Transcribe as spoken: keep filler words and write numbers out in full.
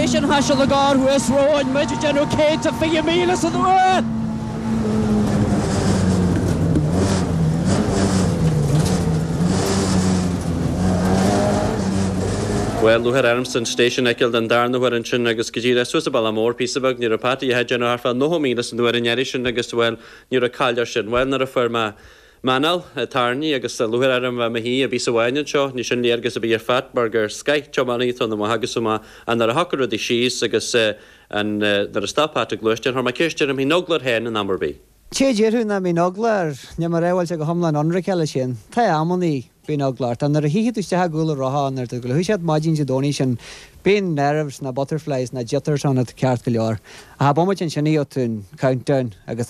Station Thaistil a gar thuas romhainn muid ag déanamh céad fiche míle san uair. Well lúcháir ormsa an station a fheiceáil den darna huair ansin agus go díreach suas an bealach mór píosa beag ní raibh Pat ag déanamh thart fá nócha míle san uair an iarraidh sin agus well ní raibh caill air sin. Well nuair a fuair mé m'anáil tarraingthe agus lúcháir orm bheith i mo shuí i bpíosa amháin anseo, ní sin léargas a bhí ar Phat mar gur scoith tiománaí atá ann amach agus amach ach nuair a shocraigh rudaí síos agus an nuair a stop Pat an gluaisteán chuir mé ceist air an mbeadh eagla air féin in am ar bith. Té déarfadh nach mbíonn eagla air, níl mé ag rá go bhfuil sé go hiomlán ionraic leis féin. Tá amannaí bíonn eagla ort, ach nuair a thífidh tú isteach i gcúl an rotha nuair tú ag gluaiseacht maidin Dé Domhnaigh sin, bíonn nerves na butterflies na jitters ann ceart go leor. Ach bomaite ansin gheobhaidh tú an countdown agus